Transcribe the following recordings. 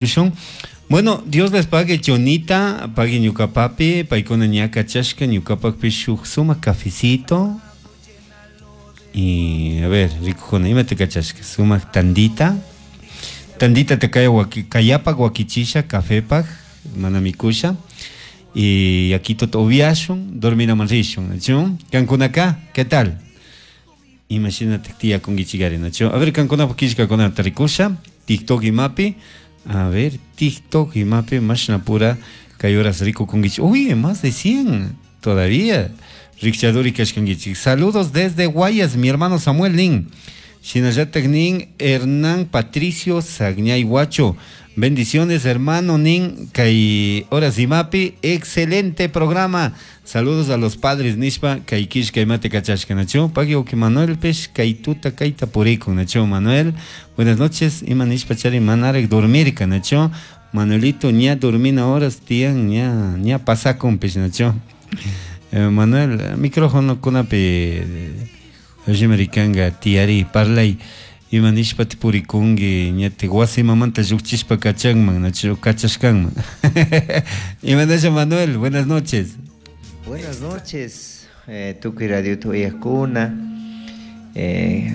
Rishun. Bueno, Dios les pague Chonita, pague ñuka papi, paykuna ña kachashka ñukapakpish shuk sumak cafecito. Y a ver, rikukuna, imata kachashka? Sumak tandita. Tandita te kaya waki, kayapak wakichisha, cafepak, mana mikusha. Y yakituta upiashun, dorminaman rishun, nachu? Kankunaka, ¿qué tal? Imashinatak tiyakunkichikari, nachu? A ver, kankunapak killkakunata rikusha, TikTok imapi. A ver, TikTok imapi mashnapura kay horas rikukunkichik. Uy, más de 100 todavía. Rikchaduri kashkankichik. Saludos desde Guayas, mi hermano Samuel Nin. Shinallatak nin Hernán Patricio Sagñay Huacho. Bendiciones, hermano Nin, kay horas imapi, excelente programa. Saludos a los padres nishpa, kay killka imate kachashka, nachu. Pagui uki Manuel pish, kay tuta kayta purikun, nachu. Manuel, buenas noches, ima nishpa chari manarek dormirka, nachu. Manuelito, ña dormina horas tiyan, ña, ña pasakun pish, nachu. Manuel, micrófono kunapi, rimarikanga, tiyari, parlay. Ima nishpa purikunki, ña te wasimamanta llukchishpa kachanman, nachu, kachashkanman. Imanasha Manuel, buenas noches. Buenas noches, tukuy radio tuyakuna,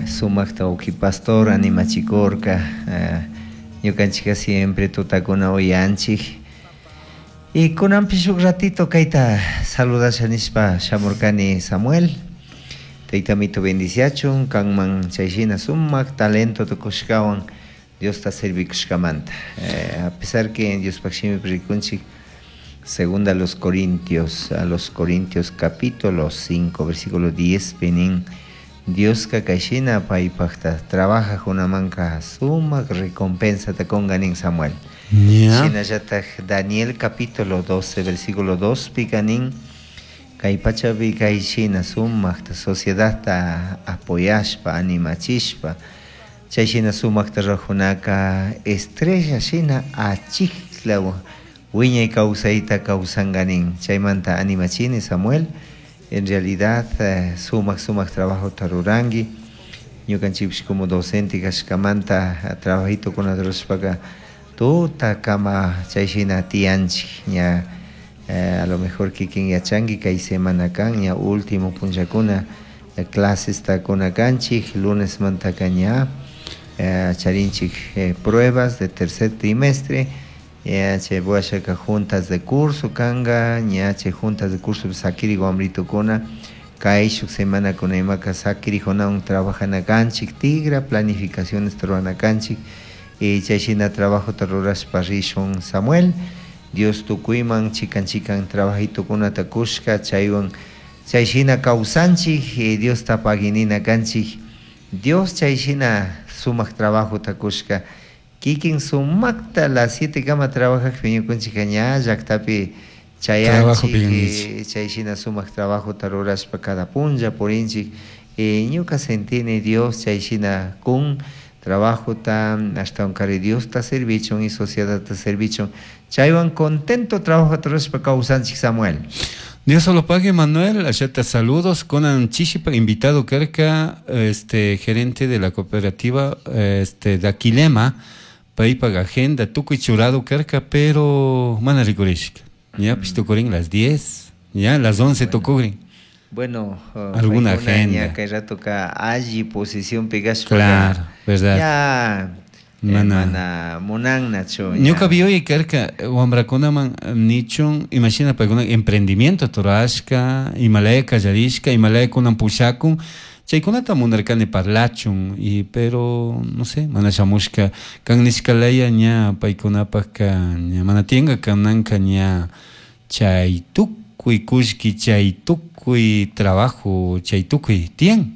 sumakta uki pastor animachikorka, ñukanchika siempre tutakuna uyanchik. Y kunanpi shuk ratito kayta saludasha nishpa shamurkani Samuel. Taytamito bendiciachun, kanman chayshina sumak talento tukushkawan Diosta servikushkamanta. A pesar que Diospaq shimipi rikunchik, segunda a los Corintios, a los Corintios capítulo 5, versículo 10, penin, Dioska kayshina paypaqta trabaja kunamanka sumak recompensa ta kunganin Samuel. Shinallatak Daniel capítulo 12, versículo 2, pikanin, kay pachapi kayshina sumakta sociedadta apoyashpa, animachishpa, chayshina sumakta rurajunaka estrella shina achikla wiñay kawsayta kawsanganin. Chaymanta animachini Samuel, en realidad, sumak sumak trabajo ruranki. Ñukanchikpish como docente kashkamanta trabajito rurashpaka tuta kama chayshina tiyanchik ña, a lo mejor kikin yachanki kay semana kan ña último punllakuna, clases takuna kanchik, lunes mantaka ña, charinchik, pruebas de tercer trimestre, ña chay washaka juntas de curso kanga, ña chay juntas de curso sakiri wamritukuna, kay shuk semana kuna imaka sakirijunawan trabajana kanchik, tigra planificaciones rurana kanchik, y chayshina trabajota rurashpa rishun Samuel. Dios tukuyman chikan chikan trabajitukunata kushka, chaywan chayshina kawsanchik, Diosta paginina kanchik. Dios chayshina sumak trabajota kushka, kikin sumakta las 7 kama trabajajpi ñukunchikka ña llaktapi chayanchik, chayshina sumak trabajota rurashpa cada punlla purinchik. Ñuka sentini Dios chayshina kun trabajota, ashtawankari Diosta servichun y sociedadta servichun, chaywan contento trabajota rurashpa kawsanchik Samuel. Dios solo pague, Manuel, allá saludos. Conan Chishipa, invitado karka, gerente de la cooperativa, Daquilema, paypak agenda, tukuy churado karka, pero mana rikurishka. Ya, pues tukurin las 10, ya, las 11 tukurin. Bueno, alguna paykuna agenda. ña kay rato ka alli posición pegashpa. Claro, verdad. Ya, Mana. mana munannachu, ña. Ñuka vi karka wamrakunaman nichun, imagina paykuna emprendimiento turashka, imalaya kallarishka, imalaya kunan pushakun, chaykunata munarkani parlachun, y pero no sé, mana shamushka, kan nishkalaya ña paykunapakka ña mana tiyanka kananka ña chay tukuy kullki, chay tukuy trabajo, chay tukuy tiyan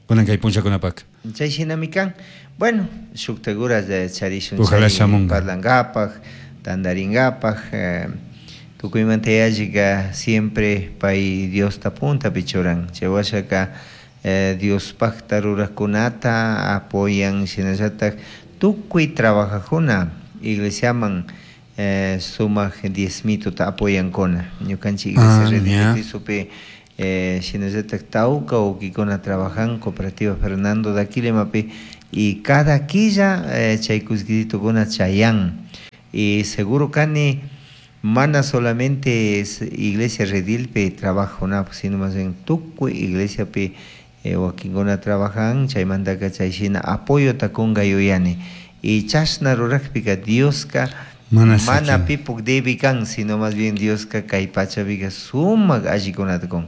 kunan kay punchakunapaka. Chay shinami kan. Bueno, shukta guras charishun Ojalá chay shamunga. parlankapaj, tandarinkapaj, tukuymanta yallika siempre pay Diosta puntapi churan. Chay washaka Diospakta rurajkunata apoyan, shinallatak tukuy trabajajuna iglesiaman sumak diezmituta apoyankuna. Ñukanchik iglesia Red de Cristopi shinallatak tawka ukikuna trabajan cooperativa Fernando Daquilemapi Y cada quilla chay kullkititokuna chayan. Y seguro kani mana solamente es iglesia redilpi trabajuna, sino más bien tukuy iglesiapi wakinkuna trabajan, chaymantaka chay shina apoyota kunka yuyani. Y chashna rurakpika Dioska Mana pipuk debi kan, sino más bien Dioska kay pachapika sumak allikunata kun.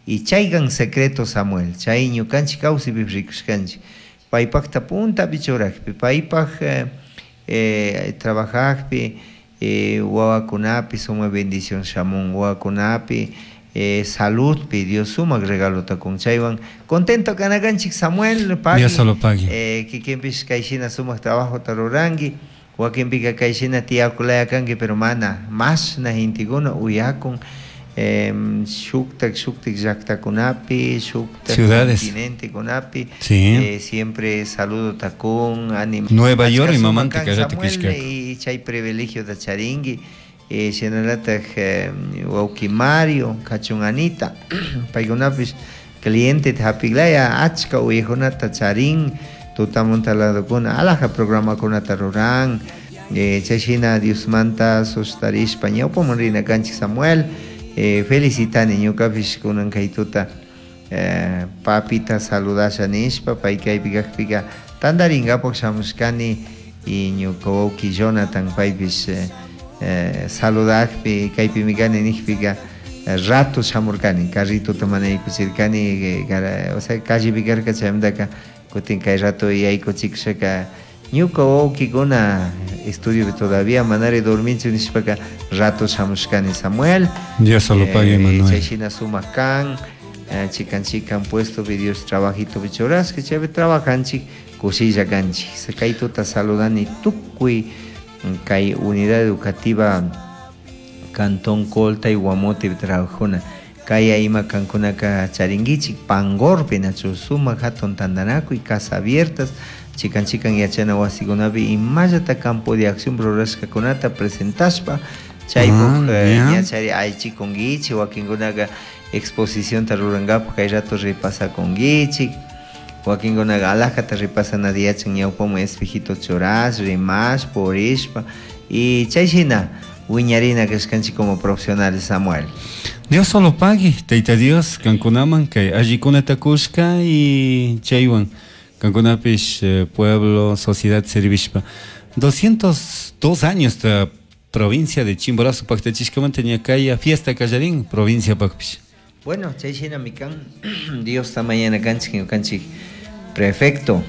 Y chaykan secreto Samuel, chay ñukanchik kawsaypi rikushkanchik. Paypakta puntapi churakpi, paypak trabajajpi, wawakunapi sumak bendición shamun, wawakunapi saludpi Dios sumak regalota kun. Chaywan contento kanakanchik Samuel, pagui. Dios solo pagui. Kikinpish kayshina sumak trabajota ruranki, wakinpika kayshina tiyakulaya kanki, pero mana mashna gentekuna uyakun, shuktak, shuktak llaktakunapi, shuktak Ciudades. continentekunapi, Sí. Siempre saludo takun, anim- Nueva York y Achka mamanta sumak que allá te Samuel, quisca. y chay privilegio da charingui, shinalataj wawki Mario, kachun Anita, paykunapish cliente hapiglaya achka uyajunata charin, tutamunta ladokuna, alaja programakunata ruran, chay shina Diosmanta sostarishpa ñawpaman rina kanchik Samuel, felicitani ñukapish kunan kay tuta papita saludasha nishpa, pay kaypi kajpika tandarinkapak shamushkani, y ñuka wawki Jonathan paypish saludakpi kaypimi kani nijpika rato shamurkani, carritota mana yaykuchirkani gara, o sea, callepi karka chaymantaka kutin kay rato yaykuchikushaka ñuka wawkikuna estudiopi todavía manari dorminchu nishpaka rato shamushkani Samuel. Dios solo pague, Manuel. Chay shina sumak kan, chikan chikan puesto pi Dios trabajito pi churashka, chaypi trabajanchik kushilla kanchik. Kay tuta saludani tukuy kay unidad educativa Cantón Colta y Guamote trabajuna. Kay ima kankunaka charinguichik Pangorpi nachu sumak hatun tantanakuy casa abiertas chikan chikan yachana wasikunapi imallata campo de acción rurashkakunata presentashpa chaypuk, ñachari aychikunkichik wakinkunaka exposición ta rurankapak kay rato repasakunkichik wakinkunaka alajata repasana yachan ñawpaman espejito churash rimash purishpa y chay shina wiñarina kashkanchik como profesionales Samuel. Dios solo pague, Tayta Dios, kankunaman kay allikunata kushka y chaywan kankunapish pueblo, sociedad servishpa. 202 años esta provincia de Chimborazo paktachishkamanta ñakaya fiesta kallarin provincia pakpish. Bueno, chay shina mikan Dios ta mañana kanchik ñukanchik prefecto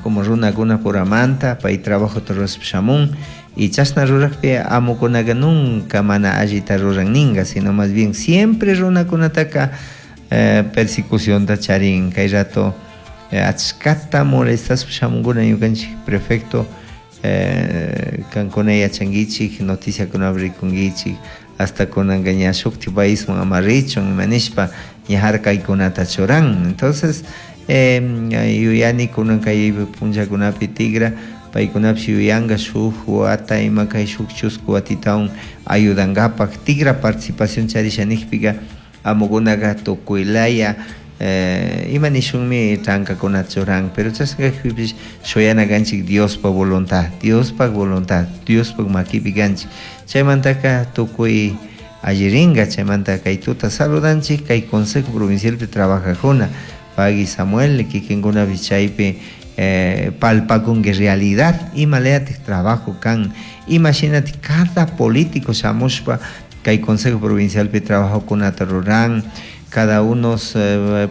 como runakuna puramanta pay trabajo torres shamun y chashna rurakpi amukunaka nunca mana allita ruran ninga, sino más bien siempre runakunataka persecución ta charin kay rato achkata molestas shamunkuna ñukanchik prefecto kankuna yachankichik noticiakuna rikunkichik hasta kunanka ña shukti paisman ama richun ima nishpa ña harkaykunata churan. Entonces yuyani kunan kay punllakunapi tigra paykunapish yuyanka shuk wata ima kay shuk chusku watitawan ayudankapak tigra participación charisha nijpika amukunaka tukuylaya ima nishunmi trankakuna churan, pero chashna kajpipish shuyana kanchik Diospa voluntad, Diospa voluntad, Diospa makipi kanchik. Chaymantaka tukuy allirinka, chaymanta kay tuta saludanchik kay Consejo Provincialpi trabajajuna pagui Samuel kikinkunapish chaypi palpakunki realidad ima leatik trabajo kan, imagínate cada político shamushpa kay Consejo Provincialpi trabajokunata ruran, cada uno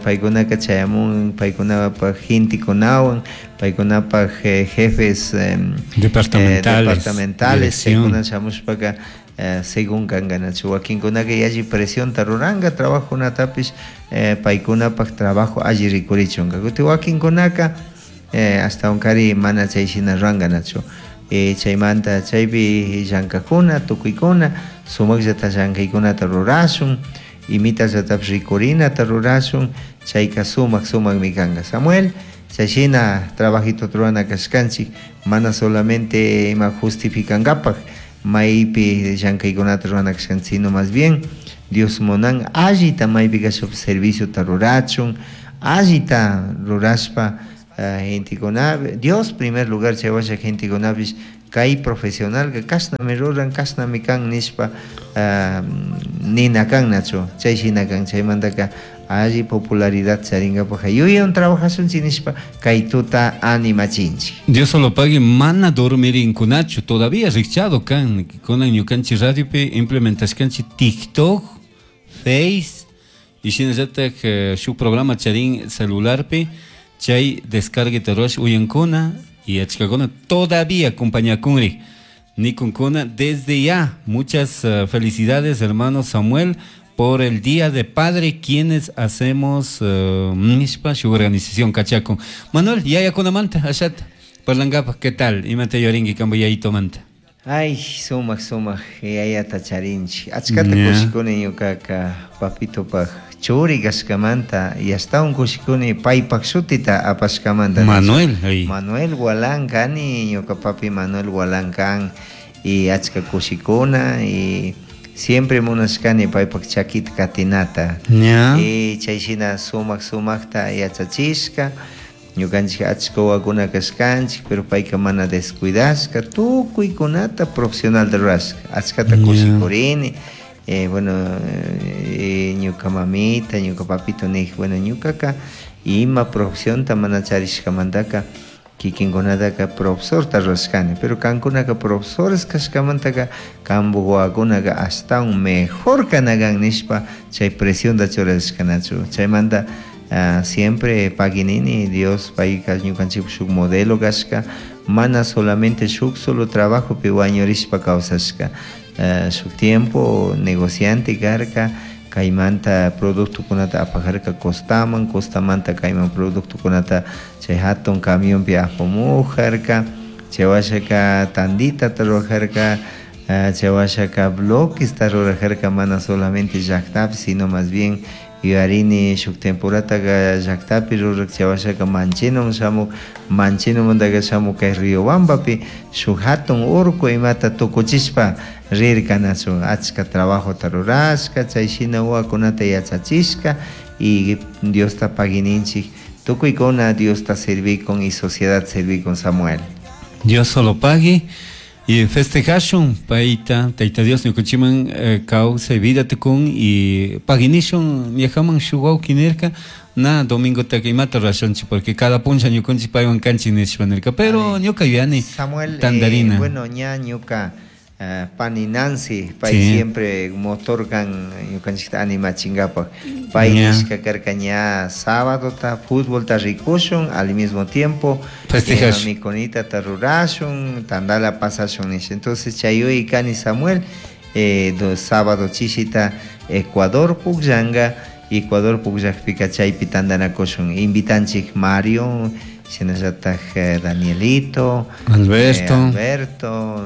paykunaka chayamun, paykunapaj gentekunawan, paykunapaj jefes Departamentales, departamentales, dirección. chaykuna shamushpaka según kankanachu wakinkunaka yalli presión ruranka trabajokunatapish paykunapaj trabajo alli rikurichunka. Kutin wakinkunaka hasta unkari mana chay shina rurankañachu. Chaymanta chaypi llankakuna tukuykuna sumakllata llankaykunata rurashun imitallatapish rikurinata rurashun chayka sumak sumakmi kanka Samuel. Chay shina trabajito rurana kashkanchik mana solamente ima justificankapak maypi llankaykunata rurana kashkanchik, sino más bien Dios munan allita maypi kashpa serviciota rurachun allita rurashpa Gentekuna Dios primer lugar chaywasha gentekunapish kay profesionalka kashnami ruran kashnami kan nishpa nina kannachu chay shina kan chaymantaka alli popularidad charinkapak yuyaywan trabajashunchik nishpa kay tuta animachinchik. Dios solo pague mana dormirinkunachu todavía rikchado kan kunan ñukanchik radiopi implementashkanchik TikTok, Face y shinallatak shuk programa charin celularpi chay descargue ruwash uyankuna y achkakuna todavía acompañakunri nikunkuna desde ya muchas felicidades hermano Samuel por el Día de Padre quienes hacemos nishpa shuk organización kachakun. Manuel, yayakunamanta ashata parlankapaj ¿qué tal? Imata yuyarinki kanpa yayitumanta? Ay, sumak sumak yayata charinchik achkata kushikuni ñukaka papitopaj churi kashkamanta y ashtawan kushikuni paypak shutita apashkamanta. Manuel, ay. Manuel Gualán kani, ñuka papi Manuel Gualán kan y achka kushikuna y siempre munashkani paypak chakita katinata. Y chay shina sumak sumakta yachachishka ñukanchik achka wawakuna kashkanchik pero payka mana descuidashka tukuykunata profesional rurashka achkata kushikurini. Bueno, ñuka mamita, ñuka papito nij, bueno, ñukaka ima profesionta mana charishkamantaka kikinkunataka profesorta rurashkani, pero kankunaka profesores kashkamantaka kanpuk wawakunaka ashtawan mejor kanakan nishpa chay presionta churashkanachu chaymanta siempre paginini Dios payka ñukanchikpak shuk modelo kashka mana solamente shuk solo trabajopi wañurishpa kawsashka. Shuk tiempo negociante karka kaymanta productokunata apajarka costaman, costamanta kayman productokunata chay hatun camionpi apamujarka, chay washaka tandita rurajarka, chay washaka bloquesta rurajarka mana solamente llaktapi sino más bien yuyarini shuk temporataka llaktapi rurak chay washaka Manchenoman shamuk, Manchenomantaka shamuk kay Riobambapi shuk hatun urku imata tukuchishpa rirkanachu achka trabajota rurashka chay shina wawakunata yachachishka y Diosta pagininchik tukuykuna Diosta servikun y sociedad servikun Samuel. Dios solo pague y festejashun payta Tayta Dios ñukanchikman kawsay vida tukun y paginishun ñajaman shuk wawki nirka na domingotaka imata rurashunchik porque cada puncha ñukanchik paywan kanchik nishpa nirka pero ñuka yuyani Samuel, tandarina. Bueno, ña ñuka pani Nancy, pay siempre motor kan ñukanchikta animachinkapak pay nishka karka ña sábado ta fútbol ta rikushun al mismo tiempo festejash mikunita ta rurashun tandala pasashun nisha. Entonces chayuy kani Samuel sábado chishita Ecuador pukllanga Ecuador pukllakpika chaypi tandanakushun invitanchik Mario shinallatak Danielito Alberto, Alberto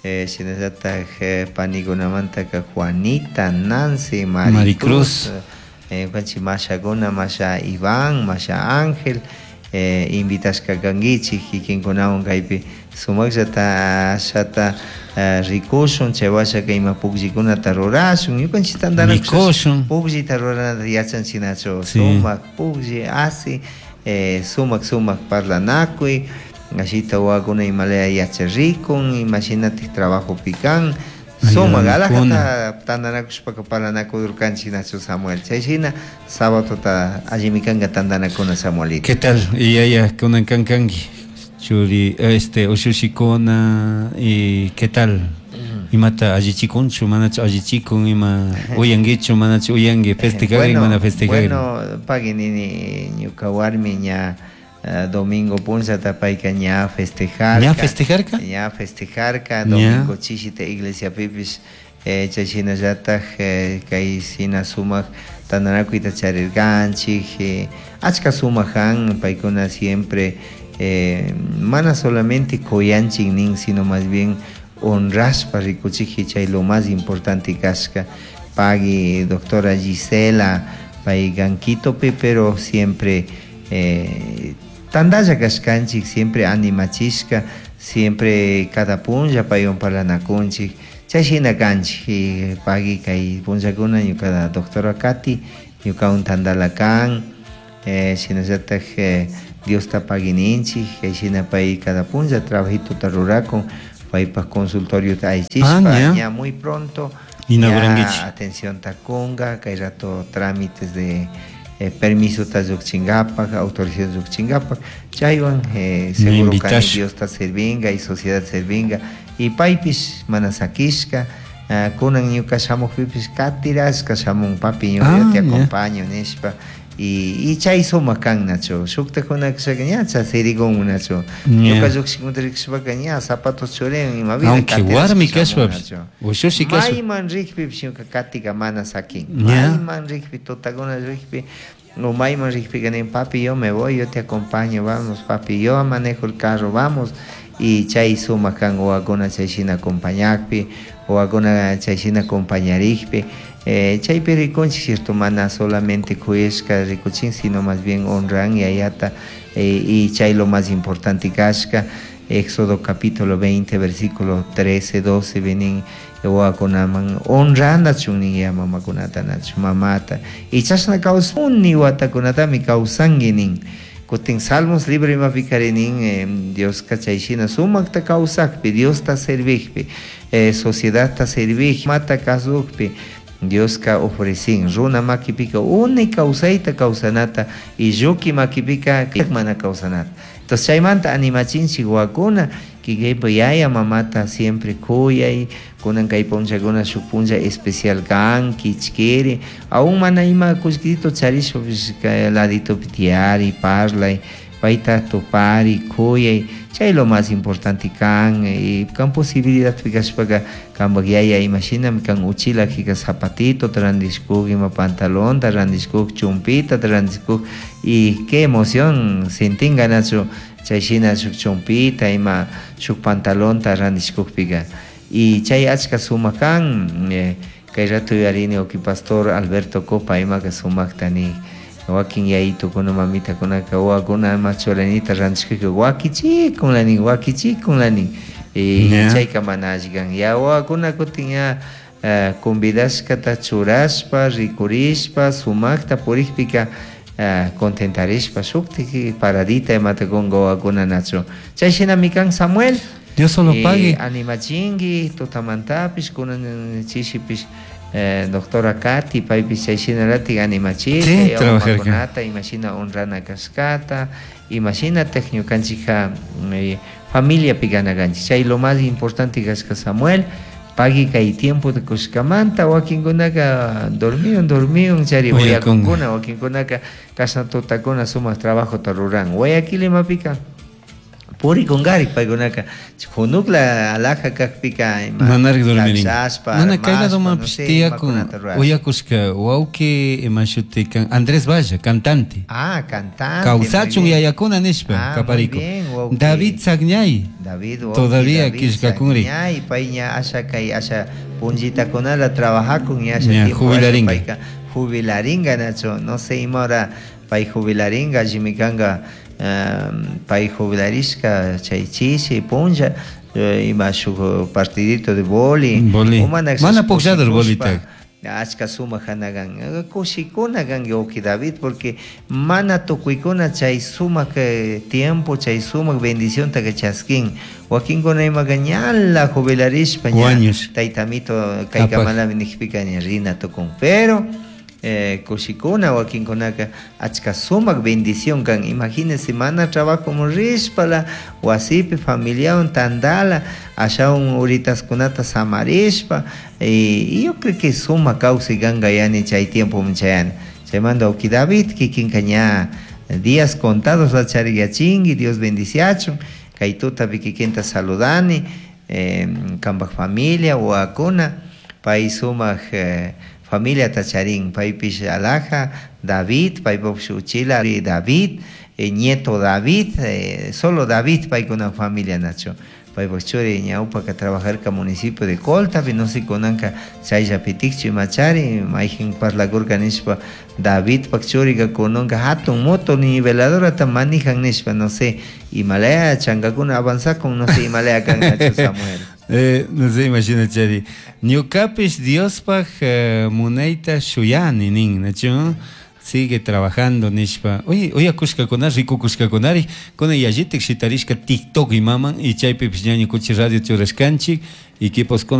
shinallatak panikunamantaka Juanita, Nancy, Maricruz, ñukanchik mashakuna, masha Iván, masha Ángel, invitashka kankichik kikinkunawan kaypi sumakllata ashata rikushun chay washaka ima pukllikunata rurashun ñukanchik tandanakushun pukllita ruranata yachanchiknachu sumak puklli asi sumak sumak parlanakuy ashita wawakuna imalaya yacharikun imashinatik trabajopi kan sumak alajata tandanakushpaka parlanakudurkanchik nachu Samuel chay shina sábadota allimi kanka tandanakuna Samuelito. ¿Qué tal? Yaya kunan kankanki churi ushushikuna y ¿qué tal? Imata allichikunchu manachu allichikun ima uyankichu manachu uyanki festejarin mana festejarin. Bueno, paginini ñuka warmi ña domingo punchata payka ña festejarka. ¿Ña festejarka? Ña festejarka, domingo chishita iglesia pipis chay shinallatak kay shina sumak tandanakuyta charirkanchik achka sumak kan paykuna siempre mana solamente kuyanchik nin sino más bien honrashpa rikuchik chay lo más importante kashka pagui doctora Gisela pay kan Quitopi pero siempre tandalla kashkanchik siempre animachishka siempre cada punlla paywan parlanakunchik chay shina kanchik pagui kay punllakuna ñuka doctora Katy ñukawan tandala kan shinallatak Diosta pagui ninchik, kay shina pay cada punlla trabajituta rurakun, paypaj consultoriota allichishpa, Ah, ña. ña muy pronto Inauguranguichik. ña atencionta kunga, kay rato trámites de permisota llukchinkapak, autorización llukchinkapak, chaywan seguro kani Invitash. Diosta servinga y sociedad servinga, y paypish mana sakishka, kunan ñuka shamukpipish katirashka shamun, papi, ñuka Ah, yo te ya. acompaño nishpa, y chay sumak kan, nachu, shuktakuna kashaka ña chasirigun, nachu. Ña. Ñuka llukshikmunta rikushpaka ña zapatos churin, ima vida Aunque katirashka warmi shamun, kashpapish, nachu. ushushi kashpa. Mayman rikpipish ñuka katika mana sakin. Ña. Mayman rikpi, tutakuna rikpi, o mayman rikpika nin, papi, yo me voy, yo te acompaño, vamos, papi, yo manejo el carro, vamos. Y chay sumak kan wawakuna chay shina acompañakpi, wawakuna chay shina acompañarikpi. Chaypi rikunchik, cierto, mana solamente kuyashka rikuchin, sino más bien honran yayata, y chay lo más importante kashka. Éxodo capítulo 20, versículo 13, 12, vienen wawakunaman honranachun nin ya mamakunata, nachu, mamata. Y chashna kawsuni watakunatami kawsanki nin. Kutin Salmos libro imapikari nin, Dioska chay shina sumakta kawsakpi, Diosta servikpi, sociedadta servik, mata kasukpi, Dioska ofrecin runa makipika unay kawsayta kawsanata y lluki makipika mana kawsanata. Entonces chaymanta animachinchik wawakuna kikaypa yaya mamata siempre kuyay, kunan kay punllakuna shuk punlla especial kan, kichkiri, aún mana ima kullkito charishpapish kay laditopi tiyari, parlay, payta tupari, kuyay, chay lo más importante kan, y kan posibilidad kashpaka kanpak yaya imashinami kan uchila kika zapatito randishkuk, ima pantalonta randishkuk, chumpita randishkuk, y qué emoción sentinga nachu chay shina shuk chumpita ima shuk pantalonta randishkukpika. Y chay achka sumak kan, kay rato yuyarini uki pastor Alberto Copa imaka sumakta ni wakin yayitukuna mamitakunaka wawakuna ima churanita randishkukka wakichikunla nin, wakichikunla nin. Y chayka mana alli kan. Ya wawakuna kutin ya convidashkata churashpa, rikurishpa, sumakta purikpika contentarishpa shuktik paradita imata kunka wawakuna nachu. Chay shinami kan Samuel. Dios solo pague. Animachinki, tutamantapish, kunan chishipish doctora Katy, paypish chay shinalatik animachinki, Sí, trabajar mamakunata, imashina honrana kashkata, imashinatak ñukanchikka familiapi ganakanchik. Chay lo más importante kashka Samuel, pagui kay tiempo de kushkamanta, wakinkunaka dormiun, dormiun, chari Uyakunga. uyakunkuna, wakinkunaka kashna tutakuna sumak trabajota ruran. Guayaquil imapika purikunkari paykunaka junukla alhaja kakpika ima Manarik dormirin. taxashpa, Mana kay armashpa, lado no mapish sé, tiyakun, imakunata rurashpa. uyakushka wawki ima shuti kan Andrés Valle, cantante. Ah, cantante, Kawsachun muy bien. yayakuna nishpa, Ah, muy kapariku. bien, wawki. David Sagñay. David, wawki, Todavía David kishkakunri. Sagñay, pay ña asha kay asha punllitakunala trabajakun ña asha Ña, tiempo asha jubilaringa. payka jubilaringa, Nacho. No sé ima hora pay jubilaringa, allimi kanka pay jubilarishka chay chishi punlla ima shuk partidito de boli. Boli. O mana Mana pukllado el kushpa, bolita. Achka sumak hanagan. Kushikuna kan wawki David, porque mana tukuykuna chay sumak tiempo, chay sumak bendición ta que chaskin. Wakinkuna imaka ñala jubilarishpa ña Wañush. taytamito kay Apak. kamalami nijpika ña rina tukun. Pero kushikuna wakinkunaka achka sumak bendición kan. Imagínense, mana trabajo rishpala, wasipi familiawan tandala, ashawan uritaskunata samarishpa, y yo creo que sumak kawsay kanka yani chay tiempo chayana. Chaymanta wawki David kikinka ña días contados la chariyachinki, Dios bendiciachun, kay tutapi kikinta saludani, kanpak familia, wawakuna, pay sumak familia tacharín, paypish alhaja, David, paypapish uchila, David, nieto David, solo David paykuna familia nacho. Paypak churi ñawpaka trabajarka municipio de Colta, no sé kunanka chayllapitikchu imachari, mayjin parlakurka nishpa David pak churika kunanka hatun moto niveladorata manijan nishpa, no sé, imalaya chankakuna avanzakun, no sé, imalaya kan nacho Samuel. No sé, imagina, Chari. Ñukapish Diospaj munayta shuyani nin, nacho. Sigue trabajando nishpa. Oye, uyakushkakuna rikukushkakunari kunan yallitik shitarishka TikTok imaman y chaypipish ña ñukunchik radio churashkanchik equiposkuna.